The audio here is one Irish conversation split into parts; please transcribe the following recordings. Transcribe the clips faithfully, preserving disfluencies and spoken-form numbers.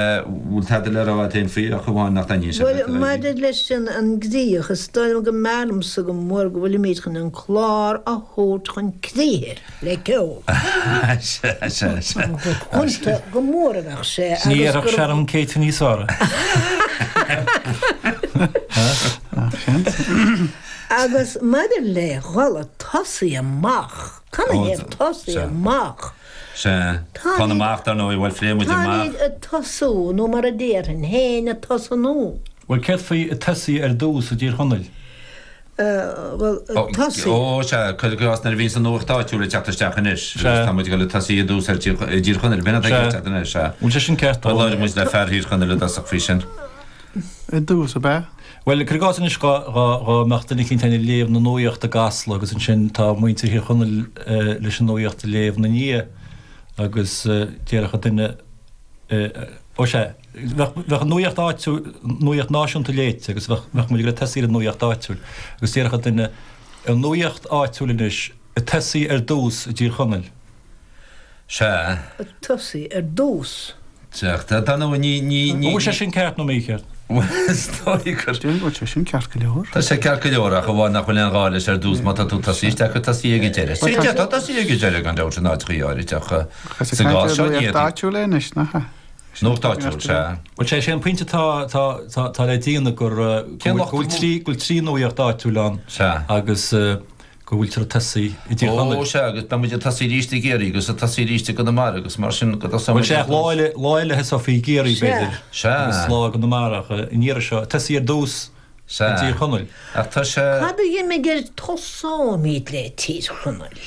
Bhfuil tada le rá agat féin faoi ach amháin nach dtaitníonn sé Bhuel, leat, a Eileen? maidir leis an an gcríoch, is dóigh liom go mb'fhearr liomsa go mór go bhfuilimid chun an clár a thabhairt chun críche le ceol. Sea, sea, sea. Gur cúnta go mór a bheadh sé Ní agus dhéarfadh gur. Sharon Céitinn níos fearr. Agus maidir le dhul ag tosaí amach, canathaobh tosaí Sea. amach? Sea. Tá Táimid, amach, dar ndóigh, bhuel, phléigh muid amach. táimid ag tosú, nó mar a déarfainn féin, ag tosnú. Bhuel, céard faoi ag tosaí ar dtús i dTír Chonaill? Bhuel, ag tosaí. Ó, sea, cuir i gcás nuair a bhíonns an nuacht áitiúil ag teacht isteach anois, agus Sea. tá muid ag dul ag tosaí i dtús ar Tír, i dTír Chonaill, b'in atá ag Sea. teacht anois, sea. Bhfuil sé sin ceart, Bhuel, ó? labhair muid le fear Thír Chonaill i dtosach faoi sin. I dtús, ab ea? Bhuel, cuir i gcás anois dhá, dhá, dhá mbeadh duine eicínt ag léamh na nuaíochta i gCasla agus ansin tá muintir Thír Chonaill leis an nuaíocht a léamh ina ndiaidh agus déarfadh duine, ó sea, bheadh, bheadh an nuaíocht áitiúil, nuaíocht náisiúnta léite agus bheadh, bheadh muid ag tosaí ar an nuaíocht áitiúil agus déarfadh duine, an nuaíocht áitiúil anois ag tosaí ar dtús i dTír Chonaill. Sea. Ag tosaí ar dtús. Sea, dar ndóigh, ní, ní, An ní, bhfuil sé sin ceart nó mícheart? Bhuel, is dóigh gur. Déarfainn go bhfuil sé sin ceart go leor. Tá sé ceart go leor, ach amháin nach bhfuil aon ghá leis ar dtús má tá tú tosaí isteach ag tosaí ag an deireadh. Bhuel, Sea, tá tá tosaí ag an deireadh gan dabht in áiteachaí áirid ach Is ag sa caint gcás ar seo ní nuacht fhéadfaí. áitiúil é anois, nach ea? Nuacht áitiúil, sea. Bhuel, sé, sé an pointe atá, atá, atá, atá le déanamh gur, go Cén bhfuil, lucht go bhfuil trí, go bhfuil trí nuaíocht áitiúil ann Sea. agus go bhfuiltear ag tosaí i dTír Ó, Chonaill. sea, agus beidh muid ag tosaí arís i gCiarraí agus ag tosaí arís i gConamara agus mar sin go dtosóidh Bhuel, muid sea, ar lá dtús. eile, lá eile a thosófaí i gCiarraí, Sea. b'fhéidir, Sea. agus lá i gConamara, ach an iarraidh seo, ag tosaí ar dtús i Sea. dTír Chonaill. Ach tá sé. Cad a d'imigh ar tosóimid le Tír Chonaill?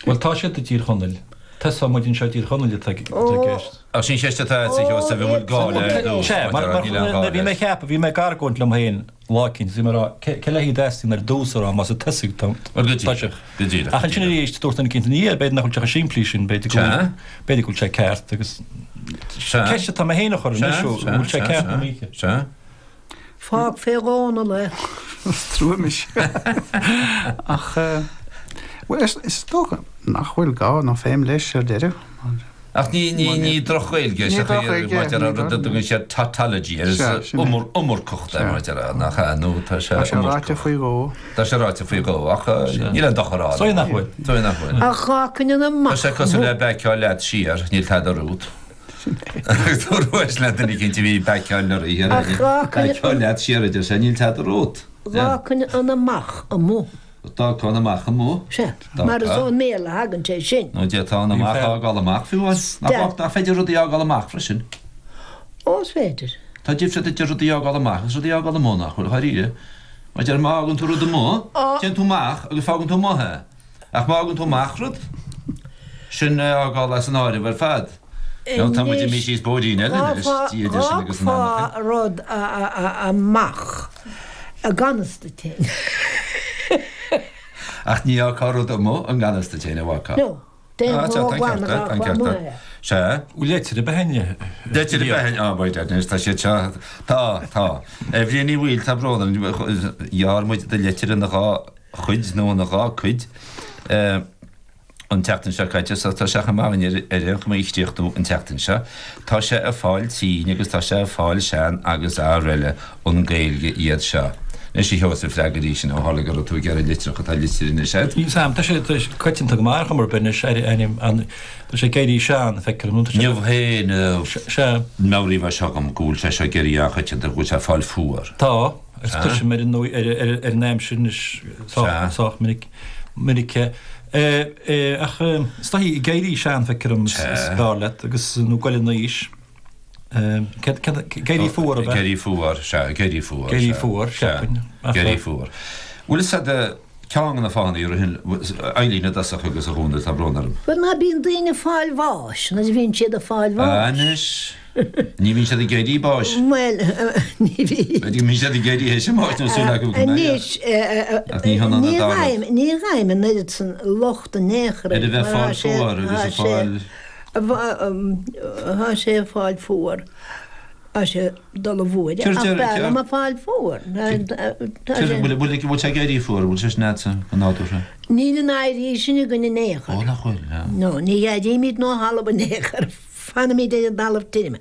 Bhuel, tá siad i dTír Chonaill. Tosóidh muid anseo i dTír Chonaill atá i Ó, gceist. Ach sin ceist atá agat, a Sheosaimh, an bhfuil gá le ar dtús, Sea, mar mar, deir, mar níl aon ghá bhí mé leis. ag ceapadh, bhí mé ag argóint liom féin lá eicínt, bhí mé ag rá, cé, cé le haghaidh a dteastaíonn ar dtús a rá, más ag tosaí tá, Bhuel, go tá sé. díreach, go díreach, Ach go ansin díreach. arís, dúirt duine eicínt, ní, b'fhéidir nach bhfuil sé chomh simplí sin, b'fhéidir go Sea. bhfuil, b'fhéidir go bhfuil sé ceart agus Sea. ceist atá mé féin a chur Sea, anois, sea, an bhfuil sé sea, ceart nó sea, mícheart. sea. Fág fé Dhónall é. Is trua mise. Ach, bhuel, is, is dócha nach bhfuil gá nó feidhm leis ar deireadh. Ach ní, ní, ní droch-Ghaeilge Ní sé droch-Ghaeilge, mar deir ní rud a droch- dtugann siad tautology air, is Sea, sin é. iomar, iomarcacht é Sea. mar deir nach ea, nó tá sé Tá sé ráite iomarcach. faoi dhó. Tá sé ráite faoi dhó, ach eh, níl aon dochar ann. Is dóigh nach bhfuil. Is dóigh nach bhfuil. Ach dhá an Tá amach sé cosúil le baiceáil leat siar, níl tada romhat. Dúirt le duine eicínt a bhí ag baiceáil uirthi, Ach dhá Baiceáil leat siar, a deir sé, níl tada romhat. Dhá an amach amuigh. D'fhágfá an amach amuigh. Sea, mar is ón mBéarla a thagann sé sin. Nó d'fhéadfá an amach a fhágáil amach fiú amháin. Nach Sea. nach féidir rudaí a fhágáil amach freisin? Ó, is féidir. Tá difríocht idir rudaí a fhágáil amach agus rudaí a fhágáil amuigh, nach bhfuil, dháiríre? Mar deir, má fhágann tú rud amuigh, téann tú amach agus fágann tú amuigh é. Ach má fhágann tú amach rud, sin é a fhágáil as an áireamh ar fad. Nó tá muid imithe Anois, síos bóithrín eile anois, Dia idir sinn agus an dh'fhágfá anachain. rud amach i ngan fhios duit fhéin. Ach ní fhágfá rud amuigh i ngan fhios duit fhéin, a bhfágfá? No, Ah, déan sea, ró tá an glan ceart a agat, tá an dh'fhágfá ceart amuigh agat. é. Sea. Leitir a bheith inne. Leitir a bheith inne, ah, by dad, anois tá siad seo, tá, tá. A Bhriain Uí Bhaoill, tá brón orm, ghearr muid do leitir ina dhá chuid nó ina dhá cuid. Eh, An tseachtain seo caite so tá sé chomh maith againn ar aon chuma í a chríochnú an tseachtain seo. Tá sé ag fáil tinn agus tá sé ag fáil sean agus araile An Ghaeilge iad seo. Anois a Sheosaimh, freagair í sin ó tharla go raibh tú ag iarraidh litreach atá litir anois agat. Níl 's a'm, tá sé coitianta go maith ar chuma ar bith anois, ar ainm an, tá sé ag éirí sean, feictear dom, tá sé. Inniu féin, Sea. meabhraíodh é seo dhom go bhfuil sé seo ag éirí an-choitianta, go bhfuil sé ag fáil fuar. Tá, agus cloisim ar an ar an aimsir anois sách, sách minic, minic é. Ach is dóichí ag éirí sean, feictear dom, is fearr leat, agus nó goil in aois. Ag éirí fuar, ab ea? Ag éirí fuar, sea, ag éirí fuar. Ag éirí fuar, sea. Ag éirí fuar. Bhfuil fhios a'd ceann de na fáthanna a ritheann Eileen i dtosach agus a Dhónaill, tá brón orm. Bhuel, ná bíonn daoine ag fáil bháis nuair a bhíonn siad ag fáil bháis. Anois, ní bhíonn siad ag éirí báis. Bhuel, ní bhíonn. B'fhéidir go mbíonn siad ag éirí théis a mbáis nó súil acu go mbeidh. Anois, Ach ní hionann an ní dá rud. ghaim, ní ghaim an oiread san locht in aon chor Ar a air, bheith mar fáil tá sé, fuar agus tá a sé, fáil. tá sé ag fáil fuar. Tá sé ag dul i bhfuaire, Céard ach deir, b'fhearr céard, liom ag fáil fuar. Tá céard, sé. bhfuil, bhfuil, bhfuil sé ag éirí fuar, bhfuil sé sin a'dsa go nádúrtha? Níl an éirí sin againn in aon Ó, chor. nach bhfuil, ná. No, ní éirímid ó thalamh in aon chor. Fanaimid ar an dtalamh tirim.